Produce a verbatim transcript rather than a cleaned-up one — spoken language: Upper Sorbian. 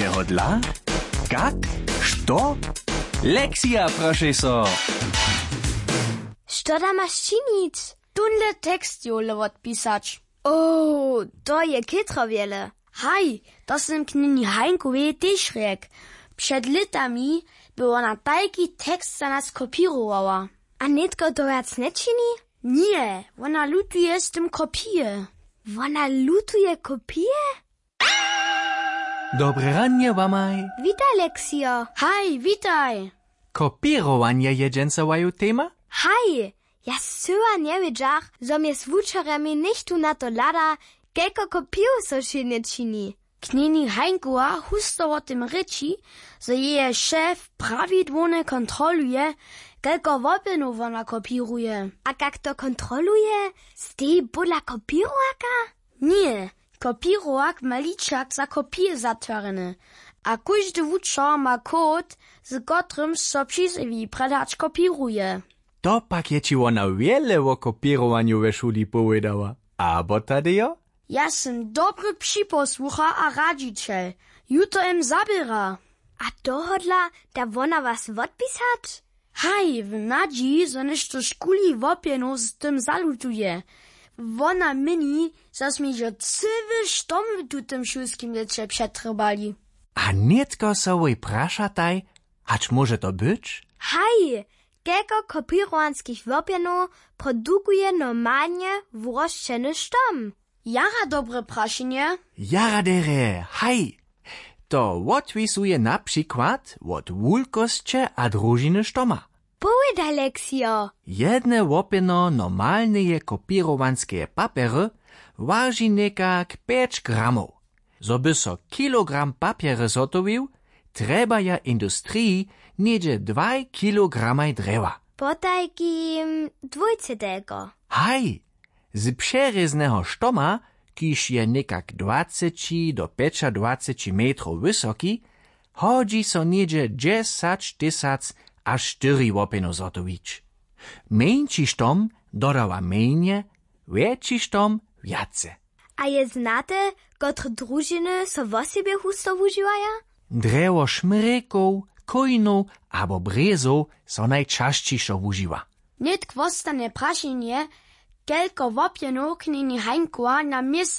Jeho dla? Kak? Što? Lexija prošej so. Što da maš činić? Tónle tekst jowle wotpisać. O, to je chětro wjele. Haj, to sym knjeni Hańkowej tež rjekł. Před lětami by wona tajki tekst za nas kopěrowała. A nětko to wjac nječini? Ně, wona lutuje z tym kopije. Wona lutuje kopije? Dobre ranje wamaj. Witaj, Lexio. Haj, witaj. Kopěrowanje je dźensa waju tema? Haj, ja scyła njewědźach, zo mjez wučerjemi něchtó na to hlada, kelko kopijow so wšědnje čini. Knjeni Hańkowa husto wo tym rěči, zo jeje šef prawidłownje kontroluje, kelko wopjenow wona kopěruje. A kak to kontroluje? Steji pola kopěrowaka? Ně, kopěrowak ma ličak za kopije zatwarjeny. A kóždy wučer ma kód, z kotrymž so přizjewi, prjedy hač kopěruje. To pak je ći wona wjele wo kopěrowanju we šuli powědała. Abo, Tadejo? Ja sym dobry připosłuchar a radźićel. Ju to jem zaběra. A tohodla da wona was wotpisać? Haj, w nadźiji, zo něšto škuli wopjenow z tym zalutuje. Wona měni, zo smy hižo cyły štom w tutym šulskim lěće přetrjebali. A nětko so wój prašataj, hač móže to być? Haj, kelko kopěrowanskich wopjenow produkuje normalnje wurosćeny štom? Jara dobre prašenje. Jara derje, haj. To wotwisuje na přikład wot wulkosće a družiny štoma. Powědaj, Lexio. Jedne łopjeno normalneje kopěrowanskeje papjery waži někak pjeć gramow. Zo by so kilogram papjery zhotowił, trjebaja industriji něhdźe dwaj kilogramaj drjewa. Potajkim dwójce telko. Haj, z přerězneho štoma, kiž je někak dwaceći do pjećadwaceći metrow wysoki, hodźi so něhdźe dźesać tysac a štyri łopjenow zhotowić. Mjeńši štom dodawa mjenje, wjetši štom wjace. A je znate, kotre družiny so wosebje husto wužiwaja? Drjewo šmrjekow, chójnow abo brězow so najčasćišo wužiwa. Nětk wostanje prašenje, kelko łopjenow knjeni Hańkowa na měsac